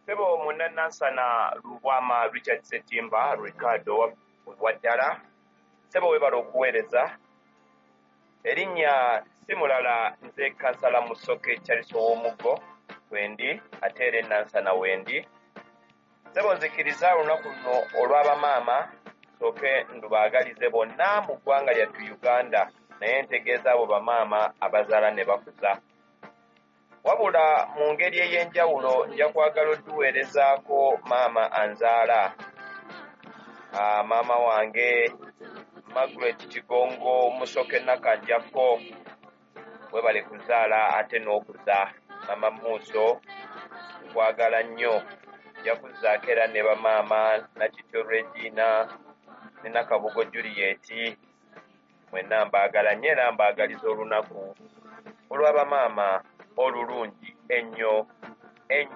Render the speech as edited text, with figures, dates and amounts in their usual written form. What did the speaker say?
Ssebo Munnanansana Lubwama Richard Ssetimba Ricardo Waddala, ssebo weebale okuweereza. Erinnya si mulala, nze Kansala Musoke Charles Ow'omuggo wendi, ate era e Nansana wendi. Ssebo nzikiriza olunaku luno olw'abamaama nsooke ndubaagalize bonna mu ggwanga lyattu Uganda, naye ntegeeza abo bamaama abazaala ne bakuza. Wabula mu ngeri ey'enjawulo nja kwagala odduweerezaako maama anzaala. Maama wange Margaret Kigongo Musoke Nakanjakko, webale kuzaala ate n'okuza. Maama Muuso, nkwagala nnyo. Nja kuzzaako era ne bamaama Nakityo Regina ne Nakabugo Juliet, mwenna mbaagala nnyo era mbaagaliza olunaku olw'abamaama olulungi ennyo ennyo.